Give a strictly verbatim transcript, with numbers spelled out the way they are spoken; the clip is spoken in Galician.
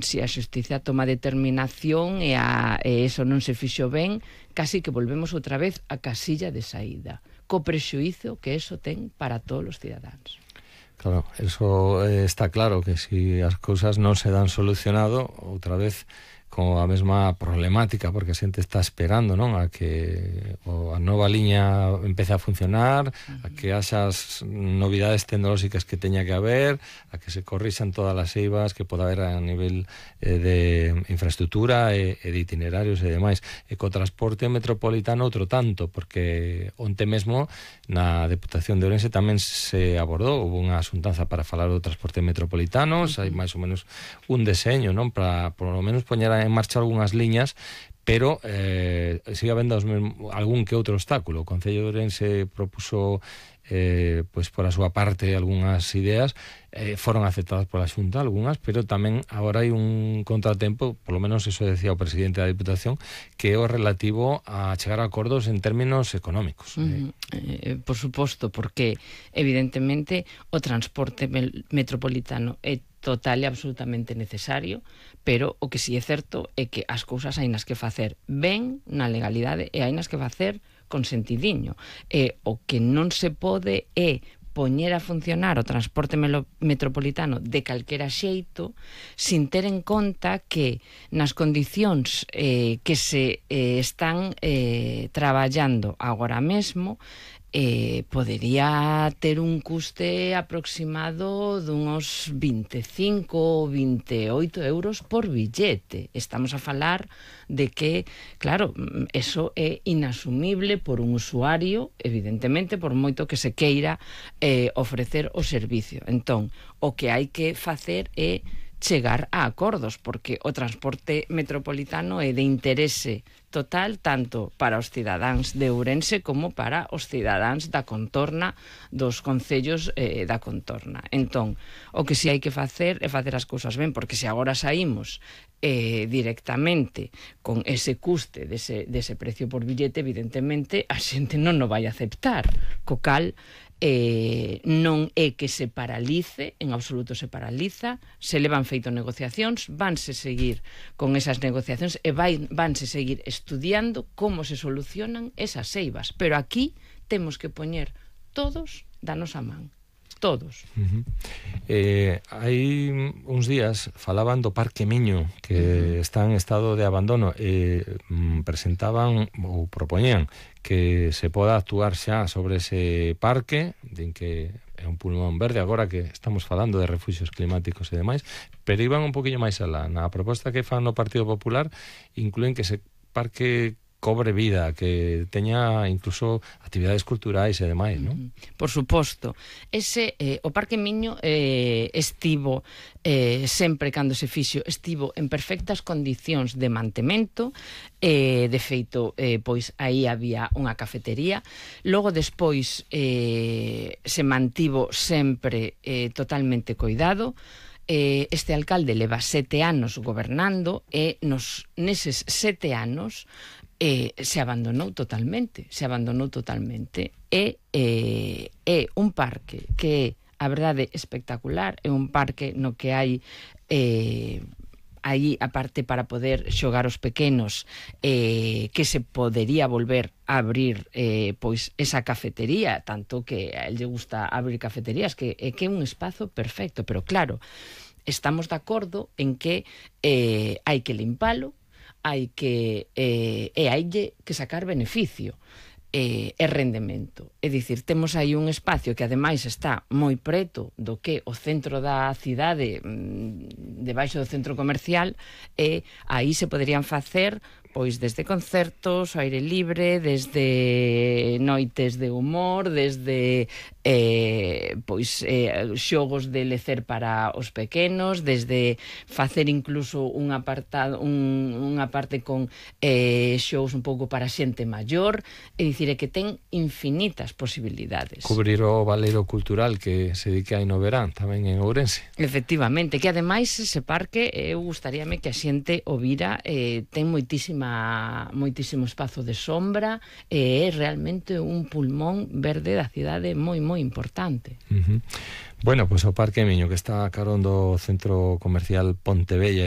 si a xustiza toma determinación e, a, e eso non se fixo ben, casi que volvemos outra vez a casilla de saída, co prexuízo que eso ten para todos os cidadáns. Claro, eso eh, está claro, que si as cousas non se dan solucionado, outra vez con a mesma problemática, porque a xente está esperando, non, a que o, a nova liña empece a funcionar, uh-huh. a que haxas novidades tecnolóxicas que teña que haber, a que se corrixan todas as eivas que poda haber a nivel eh, de infraestructura e, e de itinerarios e demais. E co transporte metropolitano outro tanto, porque onte mesmo na Deputación de Ourense tamén se abordou, houve unha asuntanza para falar do transporte metropolitano, uh-huh. hai máis ou menos un deseño, non, para por lo menos poñer en marcha algunhas liñas, pero eh, sigue habendo algún que outro obstáculo. O Concello de Ourense propuso eh, pois por a súa parte algunhas ideas, eh, foron aceptadas pola Xunta algunhas, pero tamén agora hai un contratempo, polo menos eso decía o presidente da Diputación, que é o relativo a chegar a acordos en términos económicos. Uh-huh. eh, por suposto, porque evidentemente o transporte metropolitano é total e absolutamente necesario, pero o que si é certo é que as cousas hainas que facer ben na legalidade e hainas que facer con sentidiño. E o que non se pode é poñer a funcionar o transporte metropolitano de calquera xeito sin ter en conta que nas condicións eh, que se eh, están eh, traballando agora mesmo eh, podería ter un custe aproximado dunos vinte e cinco ou vinte e oito euros por billete. Estamos a falar de que, claro, eso é inasumible por un usuario, evidentemente, por moito que se queira eh, ofrecer o servicio. Entón, o que hai que facer é chegar a acordos, porque o transporte metropolitano é de interese total tanto para os cidadáns de Ourense como para os cidadáns da contorna dos concellos eh, da contorna. Entón, o que si hai que facer é facer as cousas ben, porque se agora saímos eh, directamente con ese custe dese, dese precio por billete, evidentemente a xente non o vai aceptar, co cal Eh, non é que se paralice, en absoluto se paraliza, se levan feito negociacións, vanse seguir con esas negociacións e vai, vanse seguir estudiando como se solucionan esas eivas, pero aquí temos que poñer todos da nosa man, todos. Uh-huh. eh, hai uns días falaban do Parque Miño, que uh-huh. está en estado de abandono, e eh, presentaban ou propoñían que se poda actuar xa sobre ese parque, din que é un pulmón verde agora que estamos falando de refuxios climáticos e demais, pero iban un poquinho máis alá. Na proposta que fan no Partido Popular incluen que ese parque cobre vida, que teña incluso actividades culturais e demais, non? Por suposto. Ese, eh, o Parque Miño eh, estivo eh, sempre cando se fixo, estivo en perfectas condicións de mantemento, eh, de feito, eh, pois aí había unha cafetería, logo despois eh, se mantivo sempre eh, totalmente coidado. Eh, este alcalde leva sete anos gobernando e nos neses sete anos Eh, se abandonou totalmente, se abandonou totalmente. E eh, é un parque que é, a verdade, espectacular, é un parque no que hai eh, aí, aparte para poder xogar os pequenos, eh, que se podería volver a abrir eh, pois esa cafetería, tanto que a él lle gusta abrir cafeterías, que é que é un espazo perfecto, pero claro, estamos de acordo en que eh, hai que limpalo, hai que eh, e hai que sacar beneficio e, e rendemento. É dicir, temos aí un espacio que ademais está moi preto do que o centro da cidade, debaixo do centro comercial, e aí se poderían facer pois desde concertos ao aire libre, desde noites de humor, desde eh, pois eh, xogos de lecer para os pequenos, desde facer incluso un apartado, un, unha parte con eh, xogos un pouco para xente maior, é dicir, é que ten infinitas posibilidades. Cubrir o valeiro cultural que se dedica aí no verán tamén en Ourense. Efectivamente, que ademais ese parque eu gustaríame que a xente o vira, eh, ten moitísima moitísimo espazo de sombra e é realmente un pulmón verde da cidade moi moi importante. Uh-huh. Bueno, pois pues o Parque Miño, que está a carón do centro comercial Pontevella e